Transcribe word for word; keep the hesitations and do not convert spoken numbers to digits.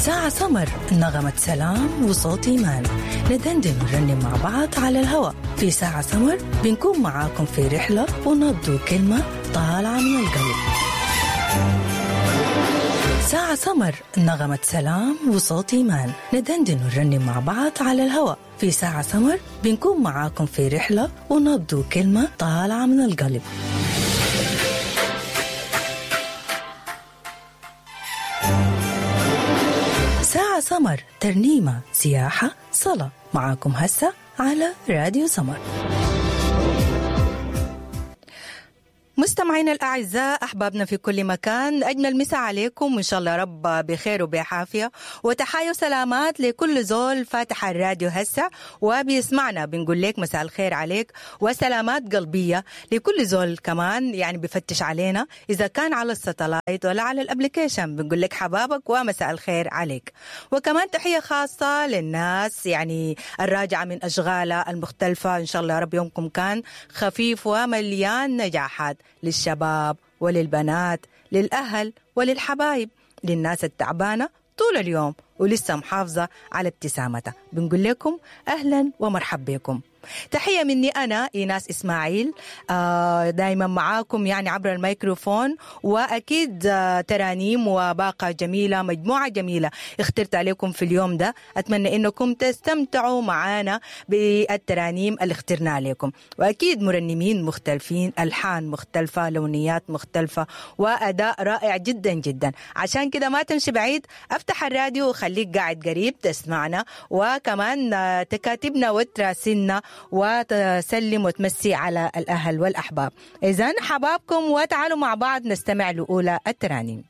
ساعة سمر، نغمة سلام وصوت إيمان، ندندن ونرنم مع بعض على الهواء. في ساعة سمر بنكون معاكم في رحلة ونبض وكلمة طالعة من القلب. ساعة سمر، نغمة سلام وصوت إيمان، ندندن ونرنم مع بعض على الهواء. في ساعة سمر بنكون معاكم في رحلة ونبض وكلمة طالعة من القلب. ساعة سمر، ترنيمة، سياحة، صلاة، معاكم هسه على راديو سمر. مستمعينا الأعزاء، أحبابنا في كل مكان، أجمل مساء عليكم وإن شاء الله رب بخير وبعافية، وتحايا وسلامات لكل زول فاتح الراديو هسه وبيسمعنا. بنقول لك مساء الخير عليك وسلامات قلبية لكل زول كمان يعني بفتش علينا إذا كان على ال satellite ولا على ال application، بنقول لك حبابك ومساء الخير عليك. وكمان تحية خاصة للناس يعني الراجعة من أشغالها المختلفة، إن شاء الله رب يومكم كان خفيف ومليان نجاحات، للشباب وللبنات، للأهل وللحبايب، للناس التعبانة طول اليوم ولسه محافظة على ابتسامتها. بنقول لكم أهلا ومرحب بكم. تحية مني أنا إيناس إسماعيل، دايما معاكم يعني عبر الميكروفون، وأكيد ترانيم وباقة جميلة، مجموعة جميلة اخترت عليكم في اليوم ده. أتمنى إنكم تستمتعوا معانا بالترانيم اللي اخترنا عليكم، وأكيد مرنمين مختلفين، ألحان مختلفة، لونيات مختلفة، وأداء رائع جدا جدا. عشان كده ما تمشي بعيد، أفتح الراديو وخليك قاعد قريب تسمعنا، وكمان تكاتبنا وتراسلنا وتسلم وتمسي على الأهل والأحباب. إذن حبابكم، وتعالوا مع بعض نستمع لأولى الترانيم.